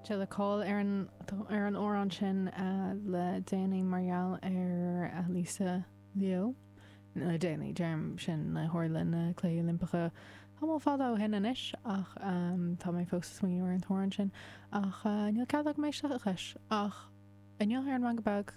Sé le cáil ar an ar an amhrán sin le déanaí mar gheall ar Lisa Leo. Le déanaí, deirim sin le tharla na Cluichí Oilimpeacha tamall fada ó shin anois ach tá mé fós ag smaoineamh ar an t-amhrán sin ach níl cead agam éisteacht leis ach inniu ar an Meangadh Beag.